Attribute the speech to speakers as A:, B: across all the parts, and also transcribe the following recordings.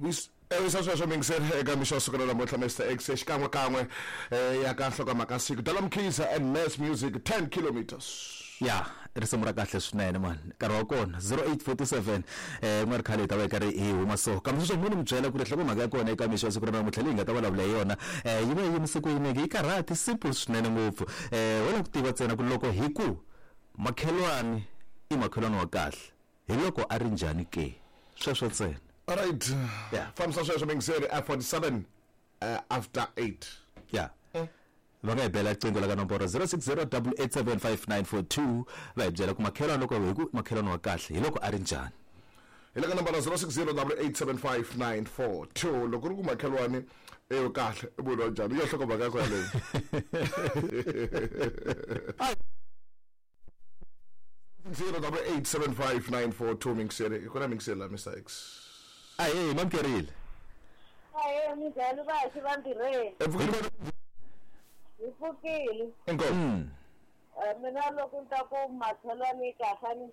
A: Wisa sweswo mingiseri eka mixo wa siku ra namuntlha Mr X xikan'wekan'we ya ka nhlokomhaka siku Dala Mkhize and Mass Music 10 kilometers.
B: Ya risimu ra kahle swinene mani nkarhi wa kona 0847 eh ku nga ri khale hi ta va hi karhi hi huma so kambe sweswo mo ni mi byela ku ri nhlokomhaka ya kona eka mixo wa siku ra namuntlha leyi hi nga ta vulavula hi yona eh yi va yi yimise ku yini yi karhati simple swinene ngopfu eh ho lava ku tiva ntsena ku loko hi ku makhelwani i makhelwani wa kahle hi loko a ri njhani ke sweswo ntsena.
A: Alright.
B: Yeah.
A: Fambisa sweswo mingiseri at 47 after 8.
B: Yeah. Va nga hi bela riqingho la ka nomboro 0608875942 va hi byela ku makhelwani loko hi ku makhelwani wa kahle hi loko a ri njhani.
A: Hi le ka nomboro 0608875942 loko ri ku makhelwani e kahle i munhu wa njhani ya nhlokomhaka ya kona leyi. 08875942 mingiseri ku na mingiseri la Mr X.
B: Ahee mamkerile.
C: Ahee minjhani vaxi va ntirhweni?
A: Epfukile.
C: Hi pfukile.
A: Inkomu.
C: Mina loko ni ta ku makhelwani yi kahle ni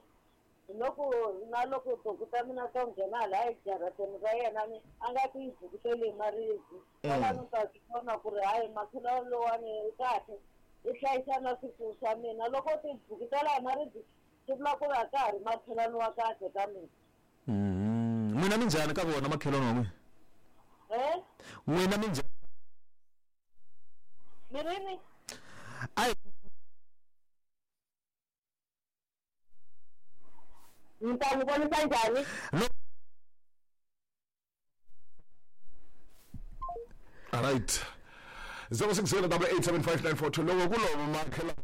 C: hi loko na loko tihuku ta mina to nghena hala ejarateni ra yena ni a nga ti bukuteli hi maribye. Kwalano ni ta swi vona ku ri hayi makhelwani lowani u kahle i hlayisa na swifuwo swa mina. Loko ti bukutela hi maribye swi vula ku ri a ka ha ri makhelwani wa kahle ka mina.
B: N'wina mi njhani ka vona makhelwani wa n'wina?
C: Eh?
B: N'wina mi njhani?
C: Mi rini?
B: Ai
C: Ni ta n'wi vonisa njhani?
B: No.
A: Alright. 0608875942 loko ku lova makhelwani.